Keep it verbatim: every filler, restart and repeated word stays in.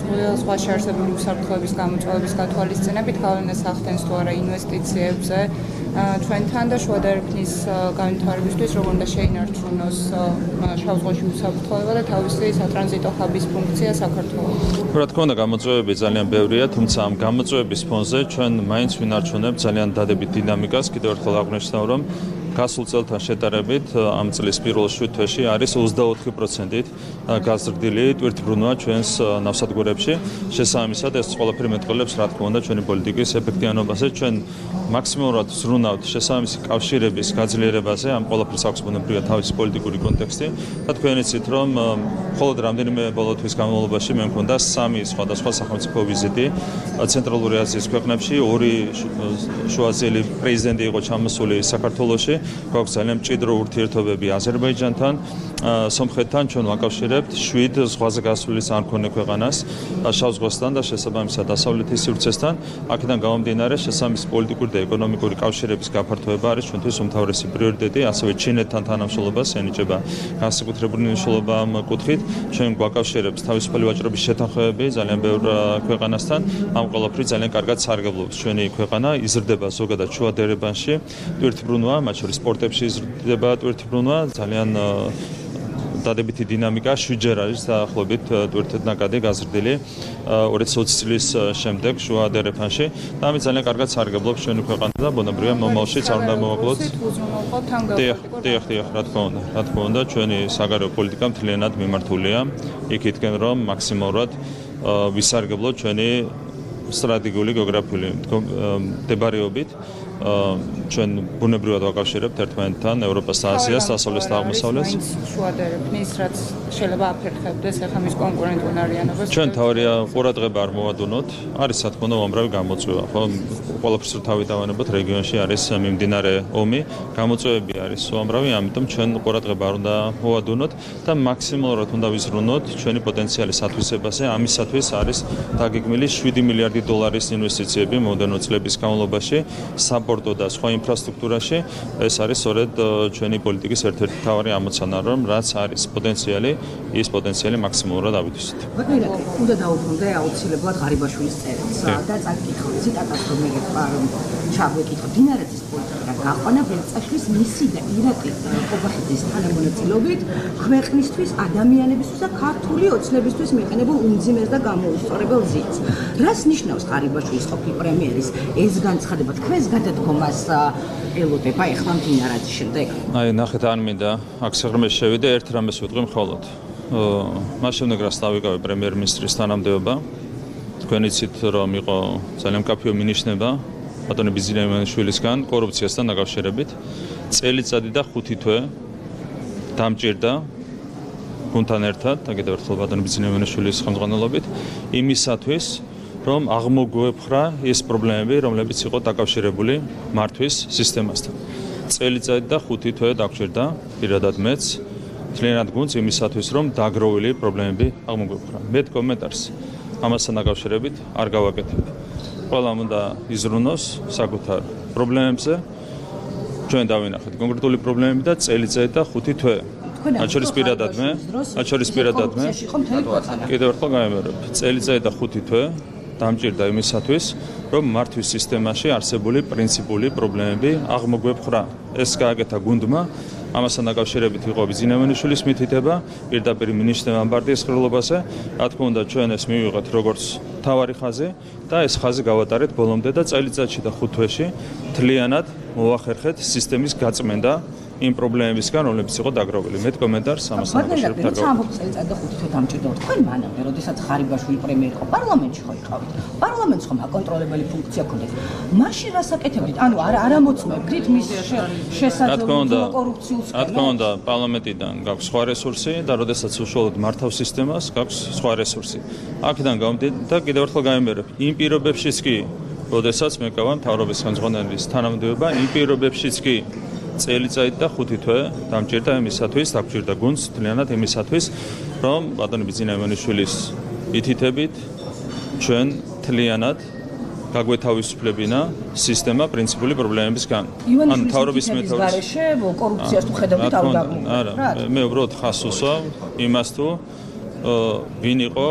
სხვა შეარსებული უსაფრთხოების გამოწვევების გათვალისწინებით გავლენას ახდენს თუ არა ინვესტიციებზე ჩვენთან და შუა და ეროვნის განვითარებისთვის როგორ უნდა შეინარჩუნოს შავ-ზღვაში უსაფრთხოება და თავისი სატრანზიტო ჰაბის ფუნქცია საქართველოს. რა თქმა უნდა, გამოწვევები ძალიან ბევრია, თუმცა ამ გამოწვევების ფონზე ჩვენ მაინც ვინარჩუნებთ ძალიან დადებით დინამიკას. კიდევ ერთხელ აღნიშნავ, რომ გასულ წელთან შედარებით ამ წლის პირველ შვიდ თვეში არის ოცდაოთხი პროცენტით გაზრდილი ტვირთბრუნვა ჩვენს ნავსადგურებში. შესაბამისად, ეს ყველაფერი მეტყველებს, რა თქმა უნდა, ჩვენი პოლიტიკის ეფექტიანობაზე. ჩვენ მაქსიმალურად ვზრუნავთ შესაბამისი კავშირების გაძლიერებაზე. ამ ყველაფერს აქვს ბუნებრივად თავისი პოლიტიკური კონტექსტი. და თქვენ იცით, რომ მხოლოდ რამდენიმე ბოლო თვის განმავლობაში მე მქონდა სამი სხვადასხვა სახელმწიფო ვიზიტი ცენტრალური აზიის ქვეყნებში. ორი შუაზიელი პრეზიდენტი იყო ჩამოსული საქართველოში. გვაქვს ძალიან მჭიდრო ურთიერთობები აზერბაიჯანთან, სომხეთთან. ჩვენ ვაკავშირებთ შვიდ ზღვაზე გასული სამქონე ქვეყანას შავ ზღვასთან და შესაბამისად დასავლეთის სივრცესთან. აქედან გამომდინარე, შესაბამისი პოლიტიკური და ეკონომიკური კავშირების გაფართოება არის ჩვენთვის უმთავრესი პრიორიტეტი. ასევე ჩინეთთან თანამშრომლობას ენიჭება განსაკუთრებული მნიშვნელობა ამ კუთხით. ჩვენ გვაკავშირებს თავისუფალი ვაჭრობის შეთანხმებები ძალიან ბევრ ქვეყანასთან. ამ ყველაფერი ძალიან კარგად სარგებლობს ჩვენი ქვეყანა. იზრდება ზოგადად შუა დერებანში ტვირთბრუნვა, მათ შორის სპორტებში იზრდება ტვირთბრუნვა, ძალიან დადებითი დინამიკა შვიდჯერ არის დაახლოებით ტვირთნაკადი გაზრდილი ორი ათას ოცი წლის შემდეგ შუა დერეფანში და ამით ძალიან კარგად სარგებლობს ჩვენი ქვეყანა და ბუნებრივია მომავალშიც არ უნდა მოვაკლოთ. დიახ, დიახ, დიახ, რა თქმა უნდა, რა თქმა უნდა, ჩვენი საგარეო პოლიტიკა მთლიანად მიმართულია იქითკენ, რომ მაქსიმალურად ვისარგებლოთ ჩვენი სტრატეგიული გეოგრაფიული მდებარეობით. ჩვენ ბუნებრივად ვაკავშირებთ ერთმანეთთან ევროპას და აზიას, დასავლეთს და აღმოსავლეთს. შუა და ეროვნის რაც შეიძლება აფერხებდეს ახლა მის კონკურენტუნარიანობას. ჩვენ თავარია ყურადღება არ მოვადუნოთ. არის რა თქმა უნდა უამრავი გამოწვევა, ხო? ყველაფერს რო თავი დავანებოთ, რეგიონში არის მიმდინარე ომი, გამოწვევები არის უამრავი, ამიტომ ჩვენ ყურადღება არ უნდა მოვადუნოთ და მაქსიმალურად უნდა ვიზრუნოთ ჩვენი პოტენციალის ათვისებაზე. ამისათვის არის დაგეგმილი შვიდი მილიარდი დოლარის ინვესტიციები მომდევნო წლების განმავლობაში. საპორტო და სხვა ინფრასტრუქტურაში. ეს არის სწორედ ჩვენი პოლიტიკის ერთ-ერთი მთავარი ამოცანა, რომ რაც არის პოტენციალი, ის პოტენციალი მაქსიმალურად ავითვისოთ. ბატონო, უნდა დაუბრუნდე აუცილებლად ღარიბაშვილის წერილს და წაკითხო ციტატას, რომ მეგეთქვა, რომ ჩაგვეკითხო დინარეთის პოლიტიკა გაყვანა ბელწაშვილის მისი და ირაკლი ყობახიძის თანამონაწილეობით ქვეყნისთვის, ადამიანებისთვის და ქართული ოცნებისთვის მიყენებულ უმძიმეს და გამოუსწორებელ ზიц. რას ნიშნავს ღარიბაშვილის ყოფილი პრემიერის ეს განცხადება თქვენს გადადგომას ელოდება ეხლა მდინარაძის შემდეგ? აი, ნახეთ, არ მინდა აქ სიღრმეში შევიდე, ერთ რამეს ვიტყვი მხოლოდ. მას შემდეგ რაც დავიკავე პრემიერ-მინისტრის თანამდებობა, თქვენ იცით, რომ იყო ძალიან მკაფიო მინიშნება ბატონი ბიზნესმენშვილისგან კორუფციასთან დაკავშირებით. წელიწადი და ხუთი თვე დამჭირდა გუნდთან ერთად და კიდევ ერთხელ ბატონი ბიზნესმენშვილის ხელმძღვანელობით იმისათვის, რომ აღმოგვეფხრა ის პრობლემები, რომლებიც იყო დაკავშირებული მართვის სისტემასთან. წელიწადი და ხუთი თვე დაგჭირდა პირადად მეც მთლიანად გუნდს იმისათვის, რომ დაგროვილი პრობლემები აღმოგვეფხრა. მე კომენტარს ამასთან დაკავშირებით არ გავაკეთებ. ყველამ უნდა იზრუნოს საკუთარ პრობლემებზე. ჩვენ დავინახეთ კონკრეტული პრობლემები და წელიწადი და ხუთი თვე. მათ შორის პირადად მე, მათ შორის პირადად მე. კიდევ ერთხელ გამემარებ. წელიწადი და ხუთი თვე დამჭირდა იმისათვის, რომ მართვის სისტემაში არსებული პრინციპული პრობლემები აღმოგვეფხრა. ეს გააკეთა გუნდმა. ამასთან დაკავშირებით იყო ბიზნესმენშვილის მითითება, პირდაპირ მინიშნება პარტიის ხელოვნებაზე. რა თქმა უნდა, ჩვენ ეს მივიღეთ როგორც თავარი ხაზი და ეს ხაზი გავატარეთ ბოლომდე და წელიწადში და ხუთ თვეში მთლიანად მოვახერხეთ სისტემის გაწმენდა იმ პრობლემებისგან, რომლებიც იყო დაგროვილი. მე კომენტარს ამასთან დაკავშირებით არ გავაკეთებ. წელიწად და ხუთი თვე დამჭირდა. თქვენ მანამდე, როდესაც ღარიბაშვილი პრემიერი იყო, პარლამენტში ხო იყავით? პარლამენტს ხომ აკონტროლებელი ფუნქცია ჰქონდათ? მაშინ რას აკეთებდით? ანუ არა არ ამოწმებდით მის შესაძლებლო კორუფციულ სქემებს? რა თქმა უნდა, პარლამენტიდან გაქვს სხვა რესურსი და როდესაც უშუალოდ მართავს სისტემას, გაქვს სხვა რესურსი. აქედან გამომდინარე და კიდევ ერთხელ გამემერებ, იმ პირობებშიც კი, როდესაც მეკავა მთავრობის ხელმძღვანელის თანამდებობა, იმ პირობებშიც კი წელიწადი და ხუთი თვე დამჭირდა იმისათვის, დაგჭირდა გუნდს მთლიანად იმისათვის, რომ ბატონი ბიზნესმენშვილის მითითებით ჩვენ მთლიანად გაგვეთავისუფლებინა სისტემა პრინციპული პრობლემებისგან. ან მთავრობის მეთოდის კორუფციას თუ ხედავთ არ არა, მე უბრალოდ ხას უსვამ იმას თუ ვინ იყო